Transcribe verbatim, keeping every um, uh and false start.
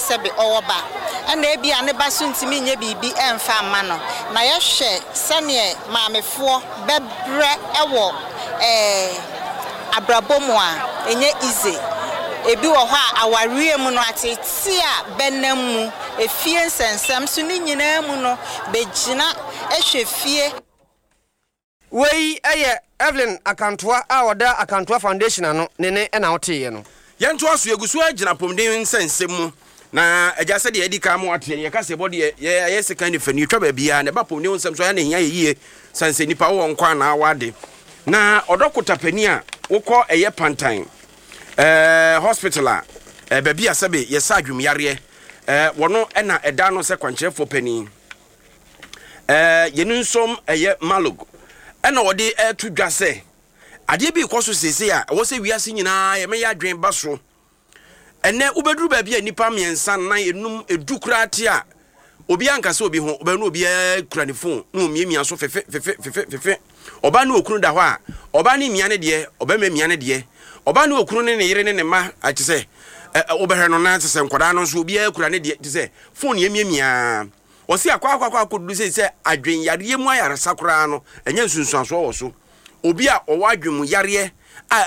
sɛbe ɔwɔ ba, ɛna ebi a ne ba so ntumi nyɛ biribi ɛmfa mma no. Na yɛhwɛ sɛneɛ maamefoɔ bɛbrɛ ɛwɔ ɛɛ abrabɔ mu a, ɛnyɛ easy. Ebi wɔ hɔ a awareɛ mu no, atete a bɛnam mu, efie nsɛnsɛm so ne nyinaa mu no, bɛgyina ɛhwɛ fie. Wei yɛ Evelyn Akantoa a ɔda Akantoa Foundation ano ne ne ɛna woteeɛ no. Yɛntoa so. Yɛgu so agyina apɔmuden nsɛnsɛm mu na agya, sɛdeɛ yɛdi kan mu ateɛ no, yɛka sɛ ɛbɔ deɛ yɛyɛ sekan ne fani twa baabiaa na ɛba apɔmuden ho nsɛm so ɛyɛ ne hia yɛ yie sane sɛ nnipa wowɔ nkwa anaa wade na ɔdɔkota pani a wokɔ ɛyɛ Pantan ɛɛ hospital a ɛɛ baabi a sɛbe yɛsa adwumyareɛ ɛɛ wɔno ɛna ɛda no sɛ kwankyerɛfoɔ panin ɛɛ yɛn nsom ɛyɛ Malog, ɛna wɔde ɛɛto dwa sɛ adeɛ bi kɔ so seesei a ɛwɔ sɛ wiase nyinaa yɛmɛyɛ adwene ba so. Ɛnɛ wobɛduru baabi a nnipa mmiɛnsa, nan, enum, edu koraa te a, obiara nkasa obi ho. Ɔbɛn no, obiara kura ne phone na omiamia so fefe fefe fefe fefe. Ɔbaa ne okunu da hɔ a, ɔbaa ne mia ne deɛ, ɔbɛrima mia ne deɛ, ɔbaa ne okunu ne ne yere ne ne mma ate sɛ ɛ ɛ wobɛhwɛ no na te sɛ nkwadaa no nso, obiara kura ne deɛ te sɛ phone yɛmiamia. Ɔsi akɔ akɔ akɔ akɔduru sɛ sɛ adwenyareɛ mu ayaresa koraa no, ɛnyɛ nsunsuansoɔ wɔ so. Obi a ɔwɔ adwen mu yareɛ a